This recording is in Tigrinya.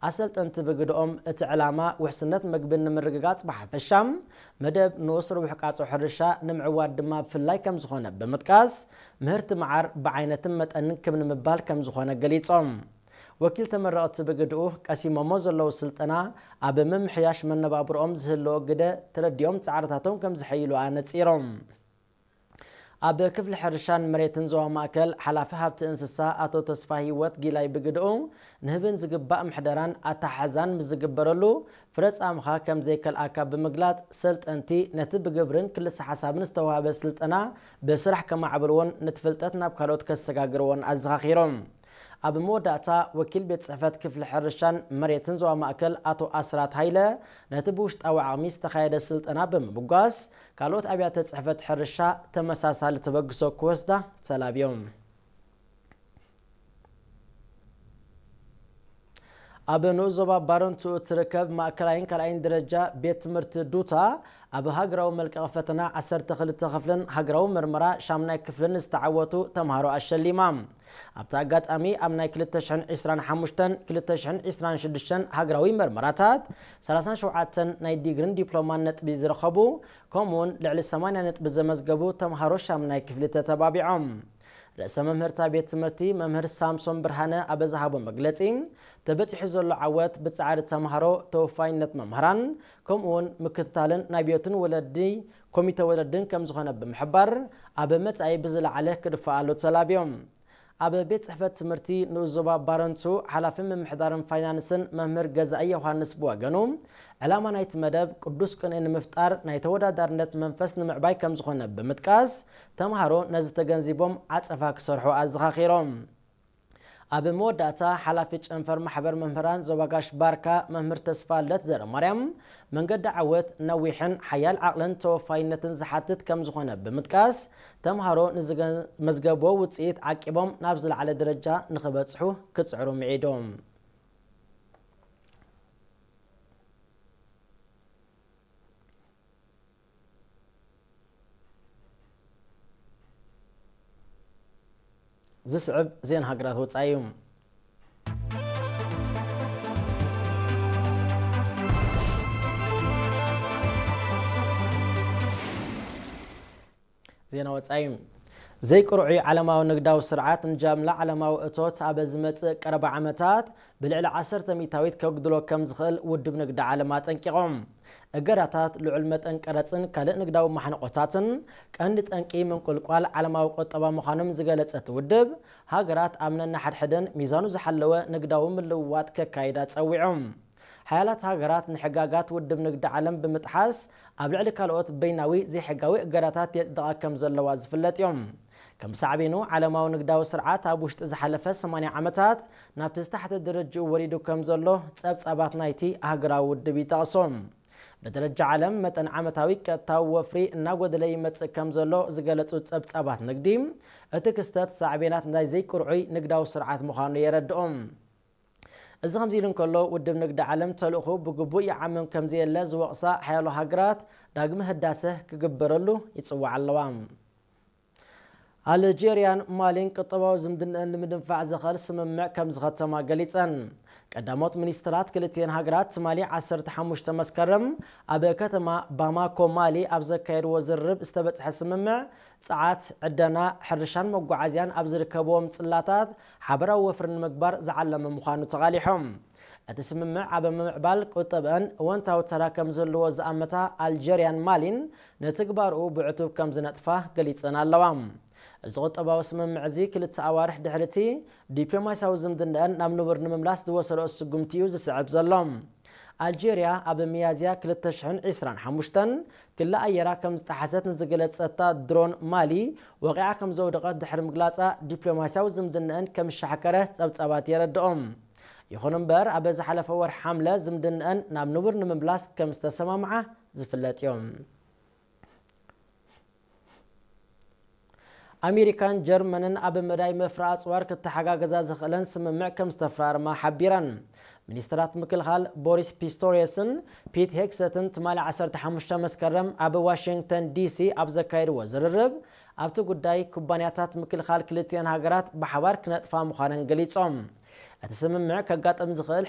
ኣሰልጠንቲ ብግድኦም እቲ ዕላማ ውሕስነት መግቢ ንምርግጋጽ ብሓፈሻ፣ መደብ ንኡስ ርቡሕ ቃጾ ሕርሻ ንምዕዋት ድማ ብፍላይ ከም ዝኾነ ብምጥቃስ፣ ምህርቲ መዓር ብዓይነትን መጠንን ክብ ንምባል ከም ዝኾነ ገሊጾም። ወኪል ተመረቕቲ ብግድኡ ቀሲሞሞ ዘለዉ ስልጠና ኣብ ምምሕያሽ መነባብሮኦም ዝህልዎ ግደ ተረዲኦም ጻዕርታቶም ከም ዝሐይሉ ኣነጺሮም። ኣብ ክፍሊ ሕርሻን መሬትን ዞባ ማእከል ሓላፊ ሃብቲ እንስሳ ኣቶ ተስፋ ህይወት ጊላይ ብግድኡ፣ ንህብን ዝግባእ ምሕደራን ኣተሓሕዛን ምስ ዝግበረሉ ፍረ ጻምኻ ከም ዘይከልኣካ ብምግላጽ፣ ሰልጠንቲ ነቲ ብግብርን ክልሰ ሓሳብን ዝተዋህበ ስልጠና ብስራሕ ከማዕብልዎን ነቲ ፍልጠት ናብ ካልኦት ከሰጋግርዎን ኣዘኻኺሮም። ኣብ መወዳእታ፣ ወኪል ቤት ጽሕፈት ክፍሊ ሕርሻን መሬትን ዞባ ማእከል ኣቶ ኣስራት ሃይለ፣ ነቲ ብውሽጣዊ ዓቕሚ ዝተኻየደ ስልጠና ብምብጓስ፣ ካልኦት ኣብያተ ጽሕፈት ሕርሻ ተመሳሳሊ ተበግሶ ክወስዳ ተላብዮም። ኣብ ንኡስ ዞባ ባረንቱ እትርከብ ማእከላይን ካልኣይን ደረጃ ቤት ትምህርቲ ዱታ፣ ኣብ ሃገራዊ መልቀቒ ፈተና ዓሰርተ ክልተ ክፍልን ሃገራዊ መርመራ ሻምናይ ክፍልን ዝተዓወቱ ተምሃሮ ኣሸሊማ። ኣብቲ ኣጋጣሚ፣ ኣብ ናይ ክልተ ሽሕን ዕስራን ሓሙሽተን ክልተ ሽሕን ዕስራን ሽዱሽተን ሃገራዊ መርመራታት፣ ሰላሳን ሸውዓተን ናይ ዲግሪን ዲፕሎማን ነጥቢ ዝረኸቡ፣ ከምኡውን ልዕሊ ሰማንያ ነጥቢ ዘመዝገቡ ተምሃሮ ሻምናይ ክፍሊ ተተባቢዖም። ርእሰ መምህርታ ቤት ትምህርቲ መምህር ሳምሶን ብርሃነ ኣብ ዝሃቦ መግለጺ፣ ተበጺሑ ዘሎ ዓወት ብጻዕሪ ተምሃሮ፣ ተወፋይነት መምህራን፣ ከምኡውን ምክትታልን ናይ ቤትን ወለዲ ኮሚተ ወለድን ከም ዝኾነ ብምሕባር፣ ኣብ መጻኢ ብዝለዓለ ክድፈኣሉ ተላብዮም። ኣብ ቤት ጽሕፈት ትምህርቲ ንኡስ ዞባ ባረንቱ ሓላፊ ምምሕዳርን ፋይናንስን መምህር ገዛኢ ዮሃንስ ብወገኑ፣ ዕላማ ናይቲ መደብ ቅዱስ ቅንኢ ንምፍጣር፣ ናይ ተወዳዳርነት መንፈስ ንምዕባይ ከም ዝኾነ ብምጥቃስ፣ ተምሃሮ ነዚ ተገንዚቦም ዓጸፋ ክሰርሑ ኣዘኻኺሮም። ኣብ መወዳእታ፣ ሓላፊ ጨንፈር ማሕበር መምህራን ዞባ ጋሽ ባርካ መምህር ተስፋ ልደት ዘረማርያም፣ መንገዲ ዓወት ነዊሕን ሓያል ዓቕልን ተወፋይነትን ዝሓትት ከም ዝኾነ ብምጥቃስ፣ ተምሃሮ ንዝመዝገብዎ ውጽኢት ዓቂቦም ናብ ዝለዓለ ደረጃ ንኽበጽሑ ክጽዕሩ ምዒዶም። ዝስዕብ ዜና ሃገራት ወጻኢ እዩ። ዜና ወጻኢ። ዘይቅርዑይ ዓለማዊ ንግዳዊ ስርዓት ንጃምላ ዓለማዊ እቶት ኣብ ዝመጽእ ቀረባ ዓመታት ብልዕሊ ዓሰርተ ሚእታዊት ከጉድሎ ከም ዝኽእል ውድብ ንግዲ ዓለም ኣጠንቂቖም። እገዳታት፣ ልዑል መጠን ቀረጽን ካልእ ንግዳዊ ማሕንቆታትን ቀንዲ ጠንቂ ምንቁልቋል ዓለማዊ ቁጠባ ምዃኖም ዝገለጸ እቲ ውድብ፣ ሃገራት ኣብ ነንሓድሕደን ሚዛኑ ዝሓለወ ንግዳዊ ምልውዋጥ ከካይዳ ጸዊዖም። ሓያላት ሃገራት ንሕጋጋት ውድብ ንግዲ ዓለም ብምጥሓስ ኣብ ልዕሊ ካልኦት በይናዊ ዘይሕጋዊ እገዳታት የጽድቓ ከም ዘለዋ ዝፍለጥ እዮም። ከም ሳዕቤኑ፣ ዓለማዊ ንግዳዊ ስርዓት ኣብ ውሽጢ ዝሓለፈ ሰማንያ ዓመታት ናብቲ ዝታሕተ ደረጃኡ ወሪዱ ከም ዘሎ ጸብጻባት ናይቲ ኣህጉራዊ ውድብ ይጠቕሱ። ብደረጃ ዓለም፣ መጠን ዓመታዊ ቀጥታዊ ወፍሪ እናጎደለ ይመጽእ ከም ዘሎ ዝገለጹ ጸብጻባት ንግዲ፣ እቲ ክስተት ሳዕቤናት ናይ ዘይቅርዑይ ንግዳዊ ስርዓት ምዃኑ የረድኡ። እዚ ከምዚ ኢሉ እንከሎ፣ ውድብ ንግዲ ዓለም ተልእኹ ብግቡእ ይዓምም ከም ዘየለ ዝወቕሳ ሓያሎ ሃገራት ዳግመ ህዳሰ ክግበረሉ ይጽውዓ ኣለዋ። ኣልጄርያን ማሊን ቁጠባዊ ዝምድንአን ንምድንፋዕ ዘኽእል ስምምዕ ከም ዝኸተማ ገሊጸን። ቀዳሞት ሚኒስትራት ክልቲኤን ሃገራት ትማሊ ዓሰርተ ሓሙሽተ መስከረም ኣብ ከተማ ባማኮ ማሊ ኣብ ዘካየድዎ ዝርርብ ዝተበጽሐ ስምምዕ፣ ጸዓት፣ ዕደና፣ ሕርሻን መጓዓዝያን ኣብ ዝርከብዎም ጽላታት ሓበራዊ ወፍሪ ንምግባር ዝዓለመ ምዃኑ ተቓሊሖም። እቲ ስምምዕ ኣብ ምምዕባል ቁጠብአን እወንታዊ ተራ ከም ዝህልዎ ዝኣመታ ኣልጀርያን ማሊን፣ ንትግባርኡ ብዕቱብ ከም ዝነጥፋ ገሊጸን ኣለዋ። እዚ ቁጠባዊ ስምምዕ እዚ ክልተ ኣዋርሕ ድሕሪ እቲ ዲፕሎማስያዊ ዝምድናአን ናብ ንቡር ንምምላስ ዝወሰደኦ ስጉምቲ እዩ ዝስዕብ ዘሎ። ኣልጀርያ ኣብ ሚያዝያ ክልተ ሽሕን ዕስራን ሓሙሽተን ክሊ ኣየራ ከም ዝጠሓሰት ንዝገለጸታ ድሮን ማሊ ወቒዓ ከም ዘውደቐት ድሕሪ ምግላጻ፣ ዲፕሎማስያዊ ዝምድናአን ከም ዝሻሕከረ ጸብጻባት የረድኦም። ይኹን እምበር፣ ኣብ ዝሓለፈ ወርሒ ሓምለ ዝምድናአን ናብ ንቡር ንምምላስ ከም ዝተሰማምዓ ዝፍለጥ እዮም። ኣሜሪካን ጀርመንን ኣብ መዳይ መፍረ ኣጽዋር ክተሓጋገዛ ዝኽእለን ስምምዕ ከም ዝተፈራረማ ሓቢረን። ሚኒስትራት ምክልኻል ቦሪስ ፒስቶሪየስን ፒት ሄግሰትን ትማሊ ዓሰርተ ሓሙሽተ መስከረም ኣብ ዋሽንግተን ዲሲ ኣብ ዘካየድዎ ዝርርብ፣ ኣብቲ ጉዳይ ኩባንያታት ምክልኻል ክልቲኤን ሃገራት ብሓባር ክነጥፋ ምዃነን ገሊጾም። እቲ ስምምዕ ከጋጥም ዝኽእል